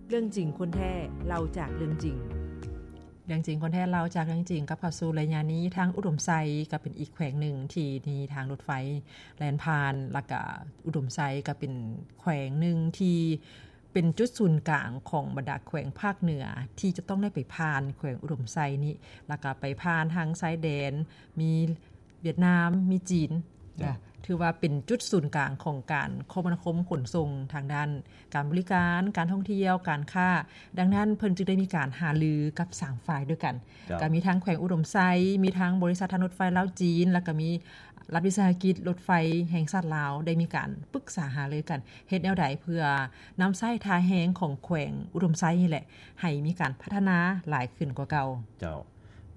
ເລື່ອງຈິງຄົນແທ້ ເລົ່າຈາກເລື່ອງຈິງ. ເລື່ອງຈິງຄົນແທ້ ເລົ່າຈາກເລື່ອງຈິງ. ກັບເຂົ້າສູ່ໄລຍະນີ້ ທາງອຸດົມໄຊກໍເປັນອີກແຂວງໜຶ່ງທີ່ມີທາງລົດໄຟແລ່ນຜ່ານ ແລ້ວກະອຸດົມໄຊກໍເປັນແຂວງໜຶ່ງທີ່ເປັນຈຸດສູນກາງຂອງບັນດາແຂວງພາກເໜືອ ທີ່ຈະຕ້ອງໄດ້ໄປຜ່ານແຂວງອຸດົມໄຊນີ້ ແລ້ວກະໄປຜ່ານທາງຊາຍແດນ ມີ ຫວຽດນາມ ມີຈີນ ເຈົ້າ ນະ ຖືວ່າເປັນຈຸດສູນກາງຂອງການຄົມມະນາຄົມຂົນສົ່ງທາງດ້ານການບໍລິການ, ການທ່ອງທ່ຽວ, ການຄ້າ. ດັ່ງນັ້ນເພິ່ນຈຶ່ງໄດ້ມີການຫາລືກັບສາມຝ່າຍດ້ວຍກັນ. ເຈົ້າ ກໍມີທັງແຂວງອຸດົມໄຊ, ມີທັງບໍລິສັດທາງລົດໄຟລາວ-ຈີນ, ແລ້ວກໍມີລັດວິສາຫະກິດລົດໄຟແຫ່ງຊາດລາວ ໄດ້ມີການປຶກສາຫາລືກັນ ເຮັດແນວໃດເພື່ອນຳໃຊ້ທ່າແຮງຂອງແຂວງອຸດົມໄຊນີ້ແຫຼະ ໃຫ້ມີການພັດທະນາຫຼາຍຂຶ້ນກວ່າເກົ່າ. ເຈົ້າ.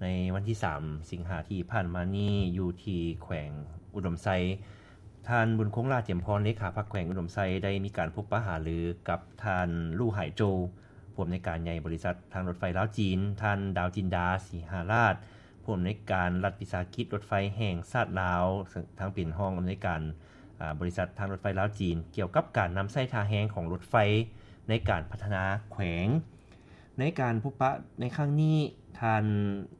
ໃນວັນທີສາມ ສິງຫາທີ່ຜ່ານມານີ້ ຢູ່ທີ່ແຂວງອຸດົມໄຊ, ທ່ານ ບຸນຄົງ ຫຼ້າຈຽມພອນ ເລຂາພັກແຂວງອຸດົມໄຊ ໄດ້ມີການພົບປະຫາລືກັບທ່ານ ຫຼູ່ ຫາຍໂຈ ຜູ້ອຳນວຍການໃຫຍ່ບໍລິສັດທາງລົດໄຟລາວ-ຈີນ, ທ່ານ ດາວຈິນດາ ສີຫາລາດ ຜູ້ອຳນວຍການລັດວິສາຫະກິດລົດໄຟແຫ່ງຊາດລາວ ເຊິ່ງທັງເປັນຮອງອຳນວຍການ ອາ ບໍລິສັດທາງລົດໄຟລາວ-ຈີນ ກ່ຽວກັບການນຳໃຊ້ທ່າແຮງຂອງລົດໄຟໃນການພັດທະນາແຂວງ. ໃນການພົບປະໃນຄັ້ງນີ້, ທ່ານ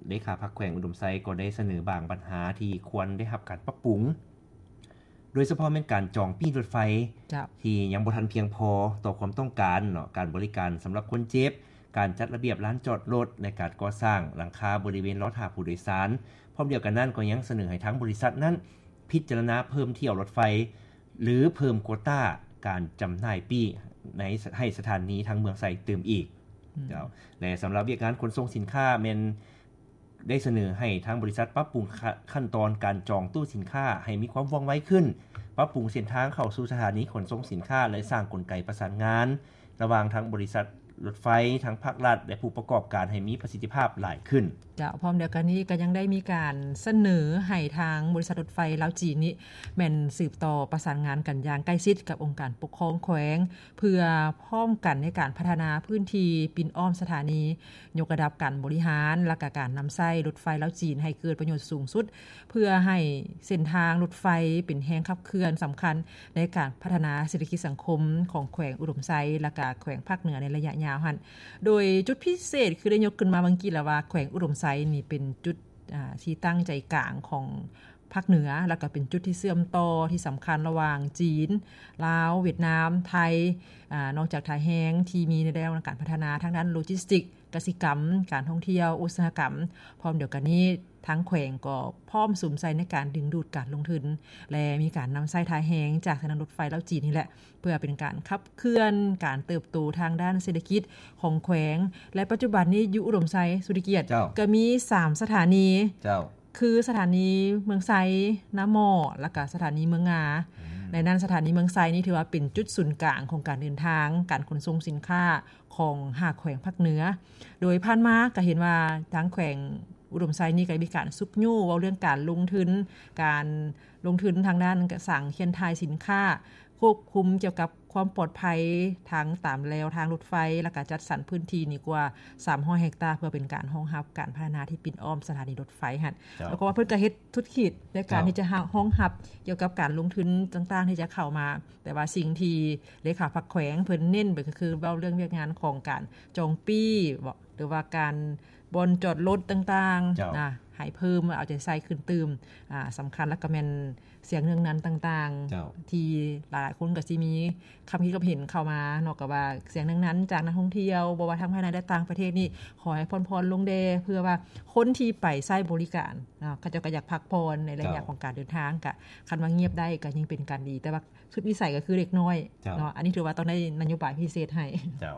ເລຂາພັກແຂວງອຸດົມໄຊກໍໄດ້ສະເໜີບາງບັນຫາທີ່ຄວນໄດ້ຮັບການປັບປຸງ, ໂດຍສະເພາະແມ່ນການຈອງປີ້ລົດໄຟ ເຈົ້າ ທີ່ຍັງບໍ່ທັນພຽງພໍຕໍ່ຄວາມຕ້ອງການເນາະ, ການບໍລິການສຳລັບຄົນເຈັບ, ການຈັດລະບຽບລານຈອດລົດ ແລະ ການກໍ່ສ້າງຫຼັງຄາບໍລິເວນລໍຖ້າຜູ້ໂດຍສານ. ພ້ອມດຽວກັນນັ້ນກໍຍັງສະເໜີໃຫ້ທາງບໍລິສັດນັ້ນ ພິຈາລະນາເພີ່ມຖ້ຽວລົດໄຟ ຫຼື ເພີ່ມໂກຕ້າການຈຳໜ່າຍປີ້ໃນ ໃຫ້ສະຖານີທາງເມືອງໄຊຕື່ມອີກ. ອືມ ເຈົ້າ ແລະ ສຳລັບວຽກງານຂົນສົ່ງສິນຄ້າ ແມ່ນໄດ້ສະເໜີໃຫ້ທາງບໍລິສັດປັບປຸງ ຂະ ຂັ້ນຕອນການຈອງຕູ້ສິນຄ້າໃຫ້ມີຄວາມວ່ອງໄວຂຶ້ນ, ປັບປຸງເສັ້ນທາງເຂົ້າສູ່ສະຖານີຂົນສົ່ງສິນຄ້າ ແລະ ສ້າງກົນໄກປະສານງານ ລະຫວ່າງທາງບໍລິສັດລົດໄຟ, ທາງພາກລັດ ແລະ ຜູ້ປະກອບການໃຫ້ມີປະສິດທິພາບຫຼາຍຂຶ້ນ. ເຈົ້າ, ພ້ອມດຽວກັນນີ້ກໍຍັງໄດ້ມີການສະເໜີໃຫ້ທາງບໍລິສັດລົດໄຟລາວ-ຈີນນີ້ ແມ່ນສືບຕໍ່ປະສານງານກັນຢ່າງໃກ້ຊິດກັບອົງການປົກຄອງແຂວງ ເພື່ອພ້ອມກັນໃນການພັດທະນາພື້ນທີ່ປິ່ນອ້ອມສະຖານີ, ຍົກລະດັບການບໍລິຫານ ແລະ ກະການນຳໃຊ້ລົດໄຟລາວ-ຈີນໃຫ້ເກີດປະໂຫຍດສູງສຸດ ເພື່ອໃຫ້ເສັ້ນທາງລົດໄຟເປັນແຮງຂັບເຄື່ອນສຳຄັນໃນການພັດທະນາເສດຖະກິດສັງຄົມຂອງແຂວງອຸດົມໄຊ ແລະ ກະແຂວງພາກເໜືອໃນໄລຍະຍາວຫັ້ນ. ໂດຍຈຸດພິເສດຄືໄດ້ຍົກຂຶ້ນມາເມື່ອກີ້ແລ້ວວ່າ ແຂວງອຸດົມໄຊນີ້ເປັນຈຸດ ອາ ທີ່ຕັ້ງໃຈກາງຂອງພາກເໜືອ ແລະ ກະເປັນຈຸດທີ່ເຊື່ອມຕໍ່ທີ່ສຳຄັນລະຫວ່າງຈີນ, ລາວ, ຫວຽດນາມ, ໄທ. ອາ ນອກຈາກທ່າແຮງທີ່ມີໃນແນວທາງການພັດທະນາທາງດ້ານໂລຈິສຕິກ, ກະສິກຳ, ການທ່ອງທ່ຽວ, ອຸດສາຫະກຳ, ພ້ອມດຽວກັນນີ້ ທາງແຂວງກໍພ້ອມສຸມໃສ່ໃນການດຶງດູດການລົງທຶນ ແລະ ມີການນຳໃຊ້ທ່າແຮງຈາກສະຖານລົດໄຟລາວ-ຈີນນີ້ແຫຼະ ເພື່ອເປັນການຂັບເຄື່ອນການເຕີບໂຕທາງດ້ານເສດຖະກິດຂອງແຂວງ. ແລະ ປັດຈຸບັນນີ້ຢູ່ອຸດົມໄຊ ສຸລິກຽດ ເຈົ້າ ກໍມີສາມສະຖານີ ເຈົ້າ ຄືສະຖານີເມືອງໄຊ, ນາໝໍ້ ແລະ ກະສະຖານີເມືອງງາ. ອືມ ໃນນັ້ນສະຖານີເມືອງໄຊນີ້ຖືວ່າເປັນຈຸດສູນກາງຂອງການເດີນທາງ, ການຂົນສົ່ງສິນຄ້າ ຂອງຫ້າແຂວງພາກເໜືອ. ໂດຍຜ່ານມາກໍເຫັນວ່າທາງແຂວງອຸດົມໄຊນີ້ກໍໄດ້ມີການຊຸກຍູ້ເວົ້າເລື່ອງການລົງທຶນ, ການລົງທຶນທາງດ້ານກະສັງເຄຍນຖ່າຍສິນຄ້າ, ຄວບຄຸມກ່ຽວກັບຄວາມປອດໄພທາງຕາມແລວທາງລົດໄຟ ແລ້ວກະຈັດສັນພື້ນທີ່ນີ້ກວ່າສາມຮ້ອຍເຮັກຕາ ເພື່ອເປັນການຮອງຮັບການພັດທະນາທີ່ປິ່ນອ້ອມສະຖານີລົດໄຟຫັ້ນ. ເຈົ້າ ແລ້ວກໍວ່າເພິ່ນກໍເຮັດທຸລະກິດໃນການ ເຈົ້າ ທີ່ຈະຮະ ຮອງຮັບກ່ຽວກັບການລົງທຶນຕ່າງໆທີ່ຈະເຂົ້າມາ. ແຕ່ວ່າສິ່ງທີ່ເລຂາພັກແຂວງເພິ່ນເນັ້ນໄປກໍຄືເວົ້າເລື່ອງວຽກງານຂອງການຈອງປີ້ເບາະ ຫຼືວ່າການບ່ອນຈອດລົດຕ່າງໆ ເຈົ້າ ນະ ໃຫ້ເພີ່ມເອົາໃຈໃສ່ຂຶ້ນຕື່ມ. ອາ ສຳຄັນແລ້ວກໍແມ່ນສຽງເໜືອງນັນຕ່າງໆ ເຈົ້າ ທີ່ຫຼາຍໆຄົນກໍຊິມີຄຳຄິດຄຳເຫັນເຂົ້າມາເນາະ ກໍວ່າສຽງເໜືອງນັນຈາກນັກທ່ອງທ່ຽວ ບໍ່ວ່າທັງພາຍໃນ ແລະ ຕ່າງປະເທດນີ້ ຂໍໃຫ້ຜ່ອນໆລົງແດ່ ເພື່ອວ່າຄົນທີ່ໄປໃຊ້ບໍລິການເນາະ ເຂົາເຈົ້າກໍຢາກພັກຜ່ອນໃນໄລຍະ ເຈົ້າ ຂອງການເດີນທາງ. ກະ ຄັນວ່າງຽບໄດ້ກໍຍິ່ງເປັນການດີ ແຕ່ວ່າ ສຸດວິໄສກໍຄືເດັກນ້ອຍ ເຈົ້າ ເນາະ ອັນນີ້ຖືວ່າຕ້ອງໄດ້ນະໂຍບາຍພິເສດໃຫ້ ເຈົ້າ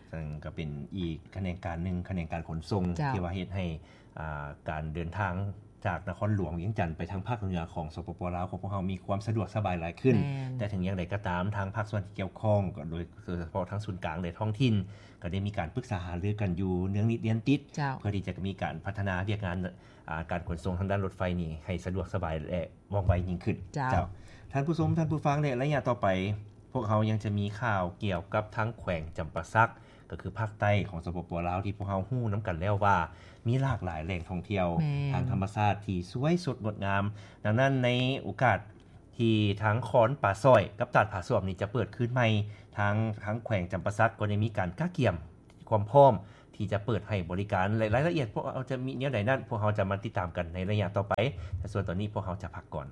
ເຊິ່ງກໍເປັນອີກຂະແໜງການໜຶ່ງ ຂະແໜງການຂົນສົ່ງ ເຈົ້າ ທີ່ວ່າເຮັດໃຫ້ ອ່າ ການເດີນທາງຈາກນະຄອນຫຼວງວຽງຈັນໄປທາງພາກເໜືອຂອງ ສປປ ລາວ ຂອງພວກເຮົາມີຄວາມສະດວກສະບາຍຫຼາຍຂຶ້ນ. ແມ່ນ ແຕ່ເຖິງຢ່າງໃດກໍຕາມ ທາງພາກສ່ວນທີ່ກ່ຽວຂ້ອງ ກໍໂດຍ ໂດຍສະເພາະທາງສູນກາງ ແລະ ທ້ອງຖິ່ນ ກໍໄດ້ມີການປຶກສາຫາລືກັນຢູ່ເນື່ອງນິດເດືອນຕິດ ເຈົ້າ ເພື່ອທີ່ຈະມີການພັດທະນາວຽກງານ ອ່າ ການຂົນສົ່ງທາງດ້ານລົດໄຟນີ້ໃຫ້ສະດວກສະບາຍ ແລະ ວ່ອງໄວຍິ່ງຂຶ້ນ. ເຈົ້າ ເຈົ້າ ທ່ານຜູ້ຊົມ ທ່ານຜູ້ຟັງ ໃນໄລຍະຕໍ່ໄປ ພວກເຮົາຍັງຈະມີຂ່າວກ່ຽວກັບທາງແຂວງຈຳປາສັກ ກໍຄືພາກໃຕ້ຂອງ ສປປ ລາວ ທີ່ພວກເຮົາຮູ້ນຳກັນແລ້ວວ່າ ມີຫຼາກຫຼາຍແຫຼ່ງທ່ອງທ່ຽວ ແມ່ນ ທາງທຳມະຊາດທີ່ສວຍສົດງົດງາມ. ດັ່ງນັ້ນ ໃນໂອກາດ ທີ່ທາງຄອນປາຊອຍກັບຕາດຜາສວມນີ້ຈະເປີດຄືນໃໝ່. ທາງ ທາງແຂວງຈຳປາສັກກໍໄດ້ມີການກະກຽມຄວາມພ້ອມທີ່ຈະເປີດໃຫ້ບໍລິການ ແລະ ລາຍລະອຽດພວກເຮົາຈະມີແນວໃດນັ້ນ ພວກເຮົາຈະມາຕິດຕາມກັນໃນໄລຍະຕໍ່ໄປ. ແຕ່ສ່ວນຕອນນີ້ພວກເຮົາຈະພັກກ່ອນ.